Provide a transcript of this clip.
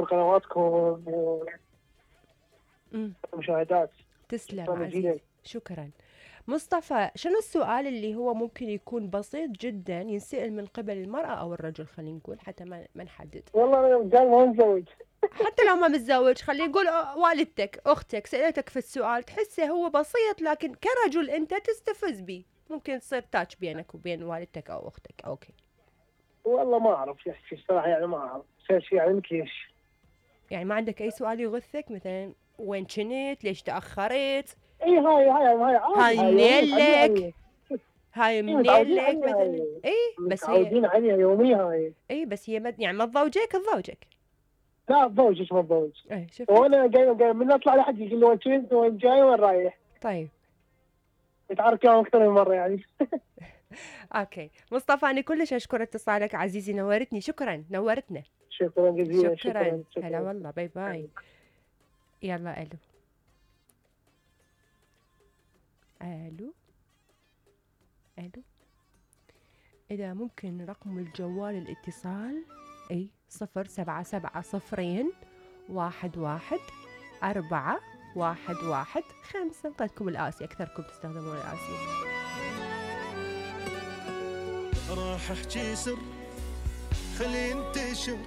قنواتكم امم ومشاهدات. تسلم شكراً عزيزي، جزيلاً. شكرا. مصطفى، شنو السؤال اللي هو ممكن يكون بسيط جدا ينسأل من قبل المرأة أو الرجل، خلينا نقول حتى ما نحدد. والله انا رجال ما متزوج. حتى لو ما متزوج، خلينا نقول والدتك أختك سألتك في السؤال تحسه هو بسيط، لكن كرجل أنت تستفز بيه، ممكن تصير تاتش بينك وبين والدتك أو أختك. أوكي. والله ما اعرف يحكي الصراحه، يعني ما اعرف شيء يعني مثل ايش. يعني ما عندك أي سؤال يغثك، مثلا وين كنت، ليش تأخرت، اي هاي عادي، هاي هاي يوميا متعودين منيلك، عليها. هاي اي متعودين منيلك عليها مثلا. هاي. اي بس هي متعودين عليها يوميا هاي. اي بس هي يعني ما تضوجك. لا اتزوج ما اتزوج. اي شفت. وانا جاي من اطلع لحد يقول لي وين كنت وين جاي وين رايح. طيب نتعرف يوم اكثر من مره يعني. اوكي مصطفى، انا كلش اشكر اتصالك عزيزي، نورتني، شكرا، نورتنا. شكرا جزيلا. شكرا، شكرا هلا والله، باي باي. يلا الو. الو الو. اذا ممكن رقم الجوال الاتصال، اي 0770 11 415. نقدكم الآسي، أكثركم تستخدمون الآسي. راح احكي سر خلي ينتشر